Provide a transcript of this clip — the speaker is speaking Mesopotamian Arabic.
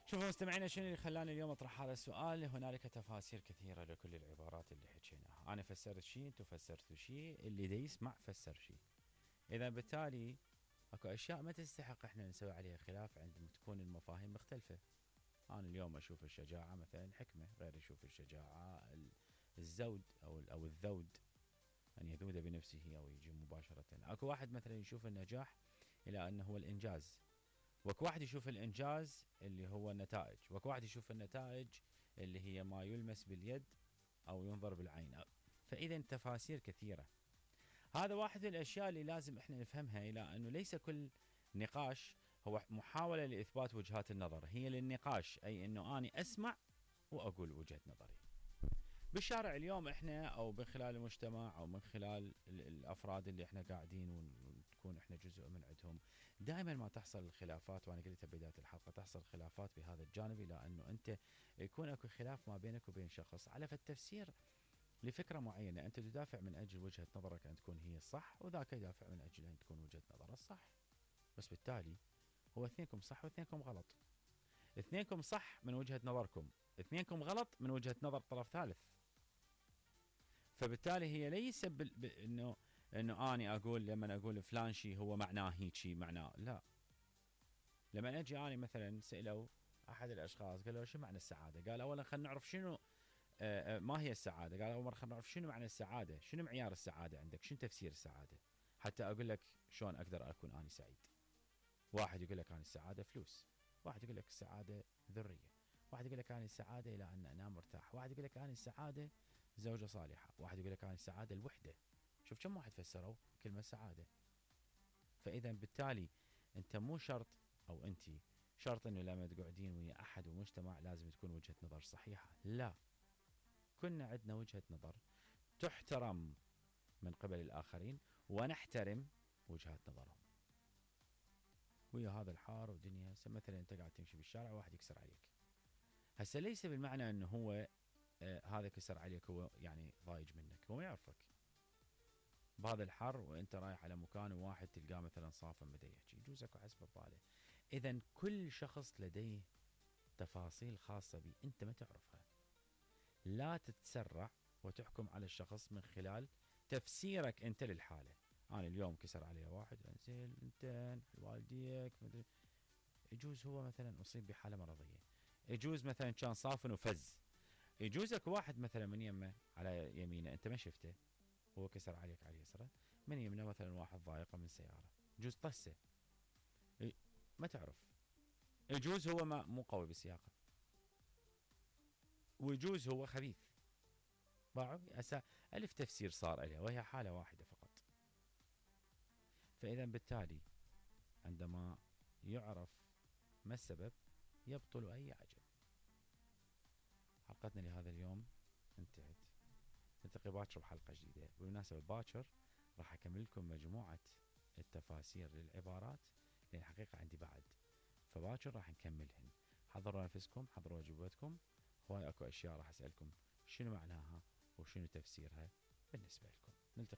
شوفوا مستمعينا، شنو اللي خلاني اليوم اطرح هذا السؤال؟ هنالك تفاسير كثيرة لكل العبارات اللي حكيناها. انا فسرت شيء، انتم فسرتوا شيء، اللي دا يسمع فسر شيء. اذا بالتالي اكو اشياء ما تستحق احنا نسوي عليها خلاف عندما تكون المفاهيم مختلفة. انا اليوم اشوف الشجاعة مثلا حكمة، غير يشوف الشجاعة الزود او الذود، ان يذود بنفسه او يجي مباشرة. اكو واحد مثلا يشوف النجاح الى انه هو الانجاز، وكو واحد يشوف الانجاز اللي هو النتائج، وكو واحد يشوف النتائج اللي هي ما يلمس باليد او ينظر بالعين. فاذا تفاسير كثيرة. هذا واحد من الاشياء اللي لازم احنا نفهمها، الى انه ليس كل نقاش هو محاولة لاثبات وجهات النظر، هي للنقاش، اي انه اني اسمع واقول وجهة نظري. بالشارع اليوم احنا او من خلال المجتمع او من خلال الافراد اللي احنا قاعدين ونكون احنا جزء من عندهم، دائما ما تحصل الخلافات. وانا قلتها بداية الحلقة، تحصل خلافات بهذا الجانب، الى انه انت يكون اكو خلاف ما بينك وبين شخص على التفسير لفكرة معينة. انت تدافع من اجل وجهة نظرك ان تكون هي الصح، وذاك يدافع من اجل ان تكون وجهة نظره الصح. بس بالتالي هو اثنينكم صح واثنينكم غلط. اثنينكم صح من وجهة نظركم، اثنينكم غلط من وجهة نظر طرف ثالث. فبالتالي هي ليس انه اني اقول لما اقول فلان شيء هو معناه هيك شيء، معناه لا. لما اجي اني مثلا سالوا احد الاشخاص قالوا شو معنى السعاده؟ قال اولا خلينا نعرف شنو ما هي السعاده. قال اول مره خلينا نعرف شنو معنى السعاده، شنو معيار السعاده عندك، شنو تفسير السعاده، حتى اقول لك شلون اقدر اكون اني سعيد. واحد يقول لك اني السعاده فلوس، واحد يقول لك السعاده ذريه، واحد يقول لك اني السعاده الى ان انام مرتاح، واحد يقول لك اني السعاده زوجة صالحة، واحد يقول لك اني السعاده الوحده. شوف كم واحد فسروا كلمه سعاده. فاذا بالتالي انت مو شرط او انت شرط انه لما تقعدين ويا احد ومجتمع لازم تكون وجهه نظر صحيحه. لا، كنا عندنا وجهه نظر تحترم من قبل الاخرين ونحترم وجهات نظرهم. ويا هذا الحار ودنيا مثلا انت قاعد تمشي بالشارع وواحد يكسر عليك، هسه ليس بالمعنى انه هو هذا كسر عليك هو يعني ضايج منك، هو ما يعرفك بهذا الحر وانت رايح على مكان وواحد تلقاه مثلا صافن بدا يحكي، يجوز اكو حسب بباله. اذا كل شخص لديه تفاصيل خاصه به انت ما تعرفها. لا تتسرع وتحكم على الشخص من خلال تفسيرك انت للحاله. انا اليوم كسر علي واحد، انزين انت والديك مدري، يجوز هو مثلا اصيب بحاله مرضيه، يجوز مثلا كان صافن وفز، يجوز اكو واحد مثلا من يمه على يمينه انت ما شفته، هو كسر عليك على يسره، من يمنه مثلا واحد ضايقه من سياره، يجوز طسه، ما تعرف. يجوز هو ما مو قوي بالسياقه، ويجوز هو خبيث. باعوا الف تفسير صار لها وهي حاله واحده فقط. فاذا بالتالي عندما يعرف ما السبب يبطل اي عجب. حلقتنا لهذا اليوم انتهت، نلتقي باكر بحلقه جديده. بالمناسبه باكر راح اكمل لكم مجموعه التفاسير للعبارات، لان الحقيقه عندي بعد، فباكر راح نكملهن. حضروا نفسكم، حضروا اجوبتكم، هواي اكو اشياء راح اسالكم شنو معناها وشنو تفسيرها بالنسبه لكم. نلتقي